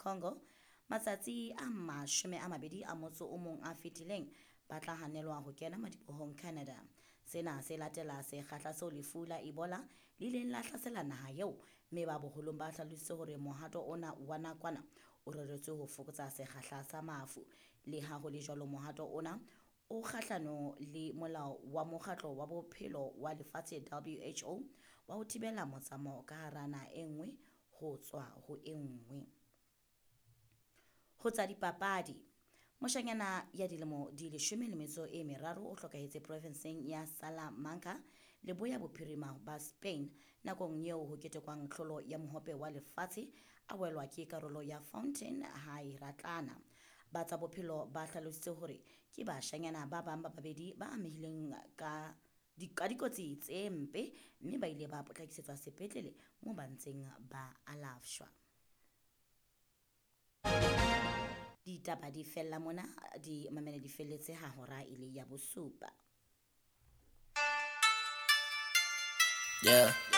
Congo matsatsi a 21 a fetileng ba tla hanelwa ho kena madibohong Canada. Sena se latela sekgahla seo lefu la Ebola le ileng la hlasela naha eo, mme ba boholong ba hlalositse hore mohato ona wa nakwana o reretswe ho fokotsa sekgahla sa mafu. Leha ho le jwalo, mohato ona o kgahlano le molao wa Mokgatlo wa Bophelo wa Lefatshe WHO wa ho thibela motsamao ka hara naha e nngwe ho tswa ho e nngwe. Ho tsa dipapadi, moshanyana ya dilemo di 13 o hlokahetse provinseng ya Salamanca leboya bophirima ba Spain nakong eo ho ketekwang tlholo ya mohope wa lefatshe a welwa ke karolo ya fountain ha e ratlana. Ba tsa bophelo ba hlalositse hore ke bashanyana ba bang ba babedi ba amehileng ka dikotsi tse mpe mme ba ile ba potlakisetswa sepetlele moo ba ntseng ba alafshwa. Ditaba di fella mona, di mamele di felletse ha hora e le ya bosupa. Yeah.